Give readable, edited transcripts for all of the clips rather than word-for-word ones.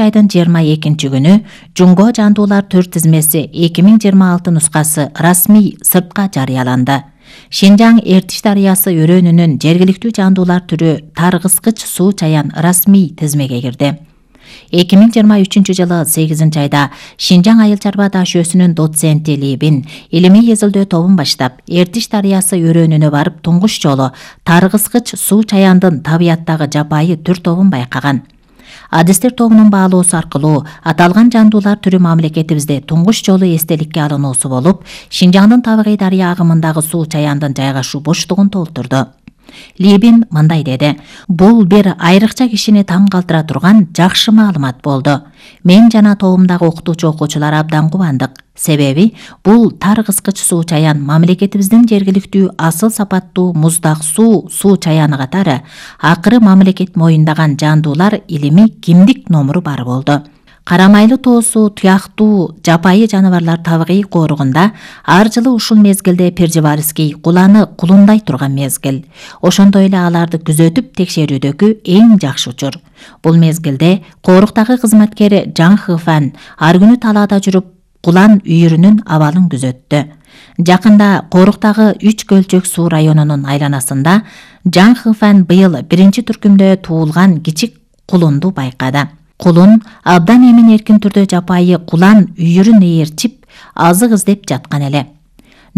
айдын 22 күнү Жунго жандуулар түр тизмеси 2026 нускасы расмий сыртка жарыяланды. Шинжаң Эртиш дарыясы өрөөнүнүн жергиликтүү жандуулар түрү таргыскыч суу чаян расмий тизмеге кирди. 2023 жылы 8 айда Шинжаң айыл чарба таш өсүнүн доценти Либин илимий изилдөө тобун баштап Эртиш дарыясы өрөөнүнө барып туңгуш жолу таргыскыч суу чаяндын табияттагы жапайы түр тобун байкаган. Адистер тобунун баалоосу аркылуу аталган жандуулар түрү мамлекетибизде туңгуш жолу эстеликке алынуусу болуп, Шинжаңдын табигый дарыя агымындагы суу чаяндын жайгашуу боштугун толтурду. Либин мындай деди: "Бул бир айрыкча кишини таң калтыра турган жакшы маалымат болду. Мен жана тобумдагы окутуучу-окуучулар абдан кубандык. Себеби бул таргыскыч суу чаян мамлекетибиздин жергиликтүү асыл сапаттуу муздак суу чаяны катары акыры мамлекет моюндаган жандуулар илимий кимдик номуру бар болду. Карамайлуу тоосу туяктуу жапайы жаныбарлар табигый коругунда ар жылы ушул мезгилде Пржевальский куланы кулундай турган мезгил. Ошондой эле аларды күзөтүп текшерүүдөгү эң жакшы учур. Бул мезгилде коруктагы кызматкер Жан Хыфан ар күнү талаада жүрүп кулан үйүрүнүн абалын күзөттү. Жакында коруктагы 3 көлчөк суу районунун айланасында Жан Хыфан быйыл 1-түркүмдө туулган кичик кулунду байкады. Кулун абдан эмин эркин түрдө жапайы кулан үйүрүн ээрчип, азык издеп жаткан эле.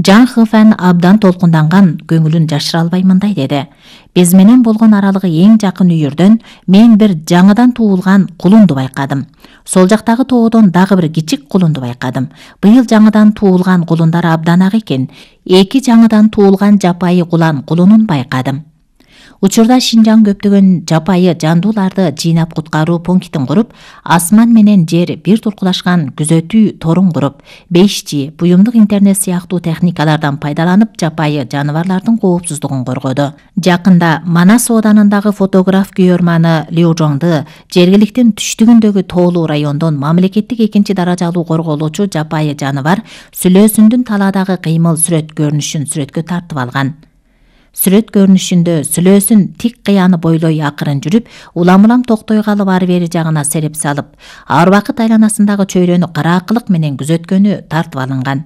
Жан Хыфан абдан толкунданган, көңүлүн жашыра албай мындай деди: "Биз менен болгон аралыгы эң жакын үйүрдөн мен бир жаңыдан туулган кулунду байкадым. Сол жактагы тоодон дагы бир кичик кулунду байкадым. Быйыл жаңыдан туулган кулундар абдан ак экен. 2 жаңыдан туулган жапайы кулан кулунун байкадым." Учурда Шинжаң көптөгөн жапайы жандууларды жыйнап куткаруу пунктин куруп, асман менен жер бир туркулашкан күзөтүү торун куруп, 5G, буюмдук интернет сыяктуу техникалардан пайдаланып жапайы жаныбарлардын коопсуздугун коргоду. Жакында Манас ооданындагы фотограф күйөрманы Лю Жоңду жергиликтин түштүгүндөгү тоолуу райондон мамлекеттик 2 даражалуу корголуучу жапайы жаныбар сүлөөсүндүн талаадагы кыймыл сүрөт көрүнүшүн сүрөткө тартып алган. Сүрөт көрүнүшүндө сүлөөсүн тик кыяны бойлой акырын жүрүп, улам-улам токтой калып ары бери жагына сереп салып, ар убакыт айланасындагы чөйрөнү караакылык менен күзөткөнү тартып алынган.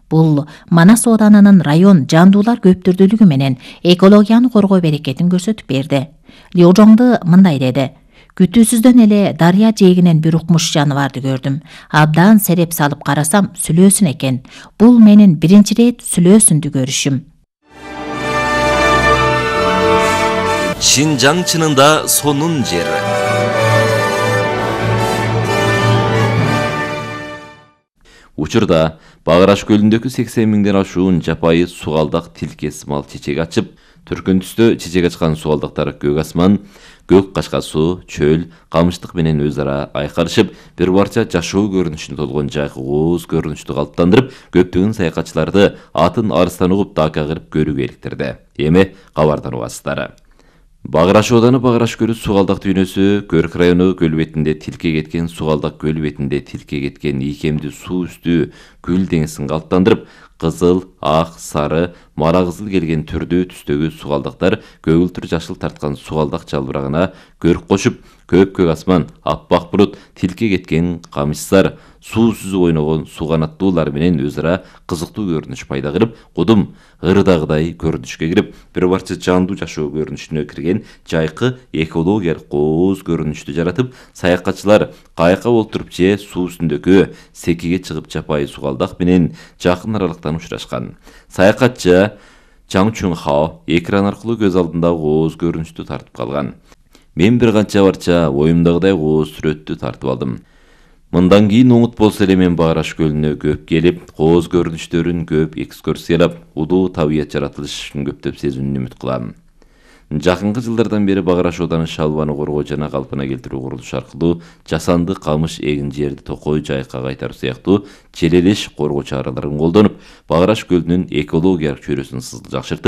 Бул Манас ооданынын район жандуулар көптүрдүүлүгү менен экологияны коргоо берекетин көрсөтүп берди. Лю Жоңду мындай деди: "Күтүүсүздөн эле дарыя жээгинен бир укмуш жаныбарды көрдүм. Абдан сереп салып карасам, сүлөөсүн экен. Бул менин биринчи рет сүлөөсүндү көрүшүм." Шинжаң чынында сонун жер. Учурда Багыраш көлүндөгү 80 миңден ашуун жапайы сугалдак тилкес мал чечек ачып, түркүн түстө чечек ачкан сугалдактар көк асман, көк кашка суу, чөл, камыштык менен өз ара айкарышып, бир барча жашоо көрүнүшүнө толгон жайкыгууз көрүнүштү калыптандырып, көптөгөн саякатчыларды атын арыстан угуп дака кырып көрүүгө иликтирди. Эми кабардан угасыздар. Багыраш ооданы Багыраш көлү сугалдак дүйнөсү, Көрк району көл бетинде тилке кеткен, сугалдак көл бетинде тилке кеткен ийкемдүү суу үстү гүл деңизин калыптандырып, кызыл, ак, сары, мара кызыл келген түрдүү түстөгү сугалдактар көгүлтүр жашыл тарткан сугалдак жалбырагына көрк кошуп, көк асман, аппак булут, тилке кеткен камышсар, суу сүзүп ойногон суу канаттуулар менен өз ара кызыктуу көрүнүш пайда кылып, кудум ырдагыдай көрүнүшкө кирип, бир барча жандуу жашоо көрүнүшүнө кирген жайкы экологиялык кооз көрүнүштү жаратып, саякатчылар кайыкка олтуруп же суу үстүндөгү секиге чыгып жапайы сугалдак менен жакын аралыктан учурашкан. Саякатчы Чаң Чун Хао экран аркылуу көз алдында кооз көрүнүштү тартып калган. Мен бир канча барча оюмдагыдай кооз сүрөттү тартып алдым. Мындан кийин оңут болсо эле мен Багыраш көлүнө көп келип, кооз көрүнүштөрүн көп экскурсиялап, улуу табият жаратылышын көптөп сезүүнү үмүт кылам. Жакынкы жылдардан бери Багыраш ооданы шалбаны коргоо жана калпына келтирүү курулушу аркылуу жасанды камыш эгин жерди токой жайыкка кайтаруу сыяктуу желелеш коргоо чараларын колдонуп, Багыраш көлүнүн экологиялык чөйрөсүн жакшыртып,